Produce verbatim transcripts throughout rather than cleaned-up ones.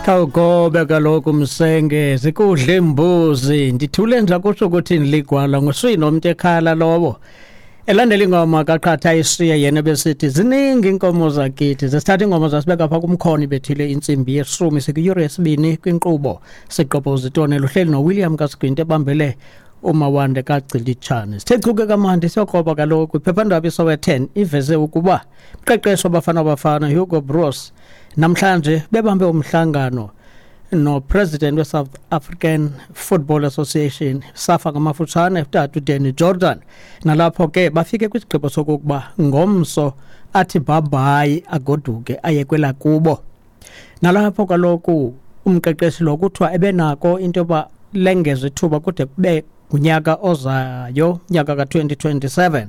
Khawugobe kaloku msenge zikudla imbuzi ndithule nje kusho ukuthi niligwala nguswini umuntu ekhala lowo. Elandela ingoma kaqhatha ishiye yena besithi ziningi inkomo zakithi. Zesithatha ingoma zasibeka pha kumkhoni bethile intsimbi yeshumi sikuyure yesibini kwinkqubo siqoboza itone luhleli noWilliam kaSigwinti ebambele uMawande kaGcilitshane. Sithe chuke kamandi siyokroba kaloku iphephandaba iSowetan iveze ukuba mqeqeshi wabafana bafana Hugo Broos namhlanje bebambe umhlangano no president we-South African Football Association SAFA ngamafutshane utata uDanny Jordan. Nalapho ke bafike kwisigqibo sokokuba ngomso athi bye-bye agoduke aye kwelakubo. Nalapho kaloku umqeqeshi lo kuthiwa ebenako into yoba lengeze ithuba kude kube ngunyaka ozayo, nyaka ka-twenty twenty-seven,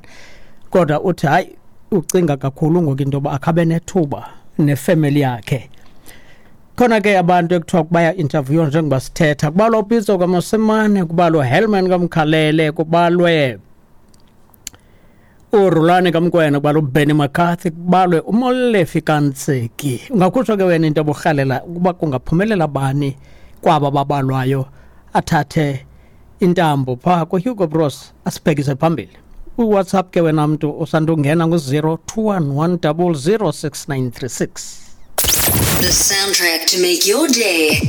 kodwa uthi hayi ucinga kakhulu ngoku into yoba akhabe nethuba nefemeli yakhe. Khona ke abantu ekuthiwa baya interview njengoba sithetha, kubalwa uPitso kaMosimane, kubalwa Helman kaMkhalele, kubalwe uRulani kaMkwena, kubalwa uBenny McCarthy, kubalwe uMolefi Kantseki. Ungakhutshwa ke wena into oburhalela ukuba kungaphumelela bani kwaba babalwayo athathe intambo phaa kuHugo Broos asibhekise phambili. UWhatsApp ke wena mntu osandungena ngu-zero two one one double zero six nine three six. The soundtrack to make your day.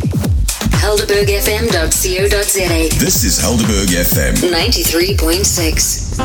Helderberg F M dot co dot za. This is Helderberg F M ninety-three point six.